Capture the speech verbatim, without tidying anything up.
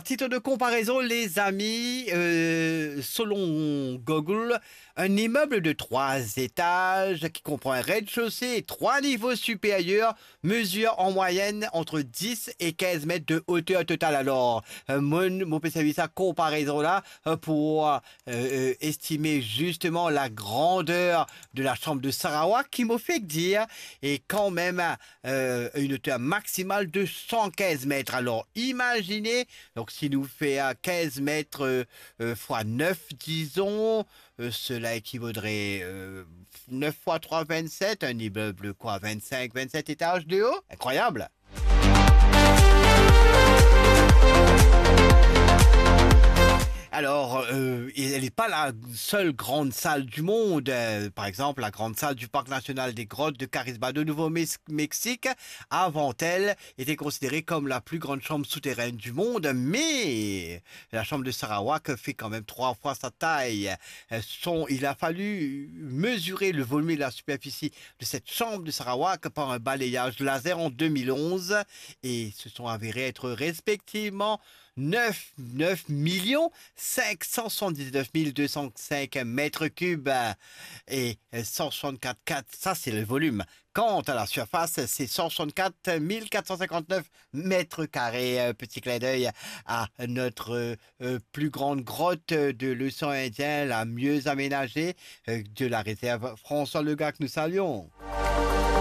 Titre de comparaison, les amis, euh, selon Google, un immeuble de trois étages qui comprend un rez-de-chaussée et trois niveaux supérieurs mesure en moyenne entre dix et quinze mètres de hauteur totale. Alors, euh, mo, mo pe servi sa konparezon la, euh, pou, euh, euh, estimer justement la grandeur de la chambre de Sarawak, qui, mo fek dir, est quand même, euh, une hauteur maximale de cent quinze mètres. Alors, imaginez, donc si nou fer, euh, quinze mètres, euh, euh, fois neuf, disons, euh, cela équivaudrait, euh, neuf fois trois, vingt-sept, un immeuble, quoi, vingt-cinq, vingt-sept étages de haut. Incroyable. Alors, euh, elle n'est pas la seule grande salle du monde. Euh, par exemple, la grande salle du Parc national des grottes de Carrizbado, Nouveau-Mexique, avant elle, était considérée comme la plus grande chambre souterraine du monde, mais la chambre de Sarawak fait quand même trois fois sa taille. Euh, son, il a fallu mesurer le volume et la superficie de cette chambre de Sarawak par un balayage laser en deux mille onze et se sont avérés être respectivement neuf, neuf millions cinq cent soixante-dix-neuf mille deux cent cinq mètres cubes et cent soixante-quatre quatre, ça c'est le volume. Quant à la surface, c'est cent soixante-quatre mille quatre cent cinquante-neuf mètres carrés. Euh, petit clin d'œil à notre, euh, plus grande grotte de l'océan Indien, la mieux aménagée, euh, de la réserve François Legac, nous saluons.